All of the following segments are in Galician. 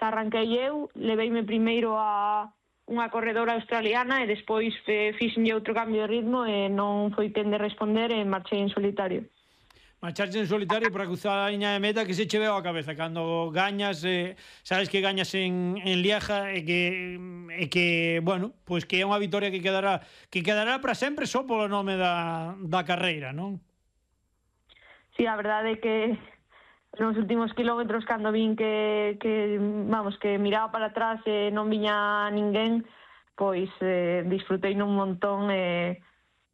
arranquei eu, leveime primeiro a unha corredora australiana e despois fixenlle outro cambio de ritmo e non foi quen de responder e marchei en solitario. Marcharse en solitario para cruzar a liña de meta que se che veo a cabeza cando gañas, sabes que gañas en Lieja e que bueno, pois que é unha vitoria que quedará para sempre só polo nome da carreira, non? Sí, a verdade é que nos últimos kilómetros cando vin que miraba para atrás e non viña ninguén, pois disfrutei nun montón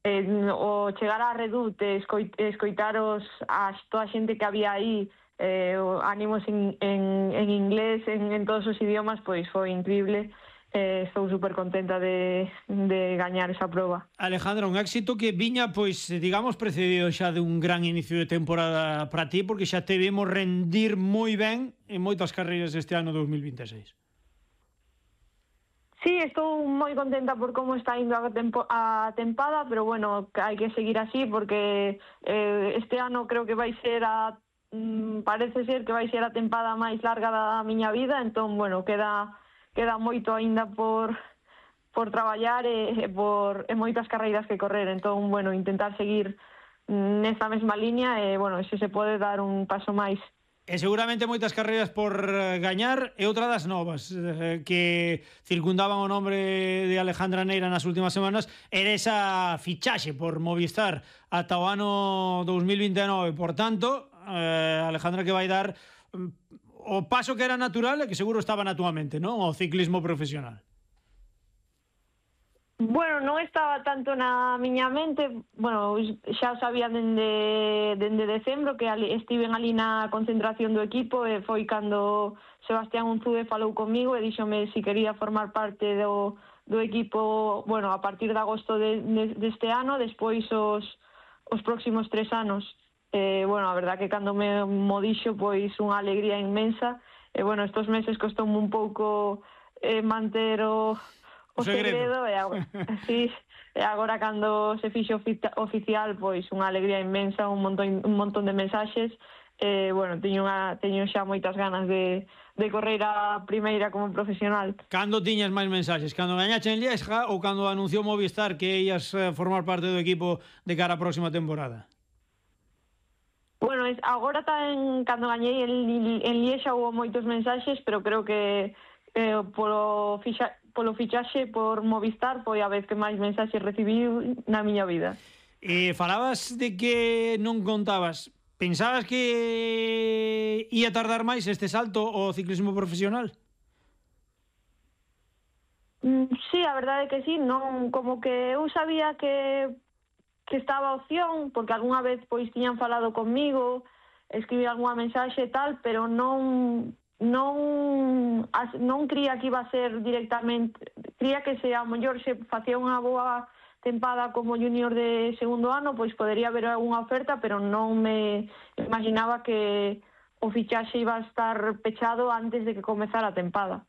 o chegar á Redoute, escoitar toda a xente que había aí, ánimos en inglés, en todos os idiomas, pois foi increíble. Estou super contenta de gañar esa proba. Alejandra, un éxito que viña, pois, digamos, precedido xa de un gran inicio de temporada para ti, porque xa te vimos rendir moi ben en moitas carreiras este ano 2026. Sí, estou moi contenta por como está indo a tempada, pero bueno, hai que seguir así porque este ano creo que vai ser parece ser que vai ser a tempada máis larga da miña vida, entón, bueno, queda moito aínda por traballar e moitas carreiras que correr, entón, bueno, intentar seguir nesta mesma liña e, bueno, se se pode dar un paso máis. E seguramente moitas carreiras por gañar e outra das novas que circundaban o nombre de Alejandra Neira nas últimas semanas era esa fichaxe por Movistar ata o ano 2029. Por tanto, Alejandra, que vai dar o paso que era natural e que seguro estaba na túa mente, non? O ciclismo profesional. Bueno, non estaba tanto na miña mente, bueno, xa sabía dende decembro que estiven ali na concentración do equipo e foi cando Sebastián Unzué falou comigo e díxome se quería formar parte do equipo, bueno, a partir de agosto deste ano, despois os próximos 3 anos. Bueno, a verdad que cando me dixo, pois unha alegría inmensa e, bueno, estos meses costoume un pouco manter o segredo e agora cando se fixo oficial, pois unha alegría inmensa, un montón de mensaxes bueno, teño xa moitas ganas de correr a primeira como profesional. Cando tiñas máis mensaxes? Cando gañache en Lieja ou cando anunciou Movistar que ías formar parte do equipo de cara á próxima temporada? Bueno, agora cando gañei en Liexa houve moitos mensaxes, pero creo que polo fichaxe por Movistar foi a vez que máis mensaxes recibí na miña vida. Falabas de que non contabas. Pensabas que ia tardar máis este salto ao ciclismo profesional? Sí, a verdade é que sí, non, como que eu sabía que estaba a opción, porque algunha vez pois tiñan falado comigo, escribí algunha mensaxe e tal, pero non cría que iba a ser directamente, cría que se a mellor se facía unha boa tempada como junior de segundo ano, pois podería haber algunha oferta, pero non me imaginaba que o fichaxe iba a estar pechado antes de que comezara a tempada.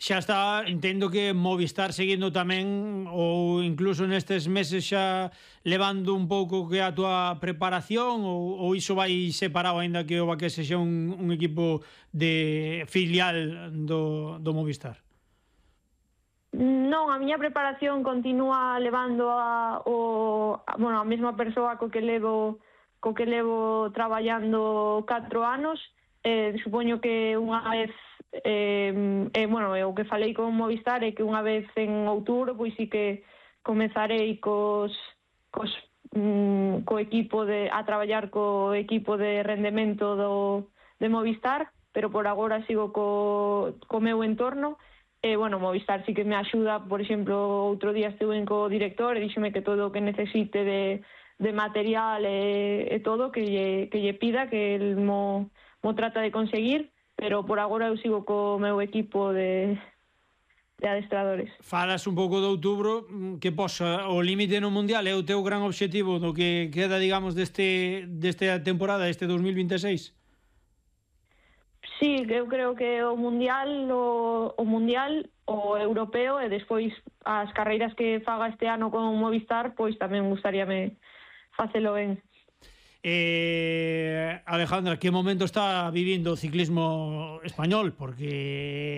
Xa está, entendo que Movistar seguindo tamén ou incluso nestes meses xa levando un pouco que a túa preparación ou iso vai separado aínda que o Baquese xa un equipo de filial do Movistar? Non, a miña preparación continúa levando a mesma persoa co que levo traballando 4 anos. Supoño que unha vez o que falei con Movistar é que unha vez en outubro pois sí que comezarei co equipo a traballar co equipo de rendemento de Movistar, pero por agora sigo co meu entorno. Movistar sí que me axuda, por exemplo, outro día estuve co director e díxome que todo o que necesite de material e todo que lle pida, que el mo trata de conseguir, pero por agora eu sigo co meu equipo de adestradores. Falas un pouco de outubro, que posa o límite no Mundial é o teu gran obxectivo do que queda, digamos, desta temporada, este 2026? Sí, eu creo que o Mundial, o Europeo e despois as carreiras que faga este ano con Movistar, pois tamén gustaríame facelo ben. Alejandra, que momento está vivindo o ciclismo español? Porque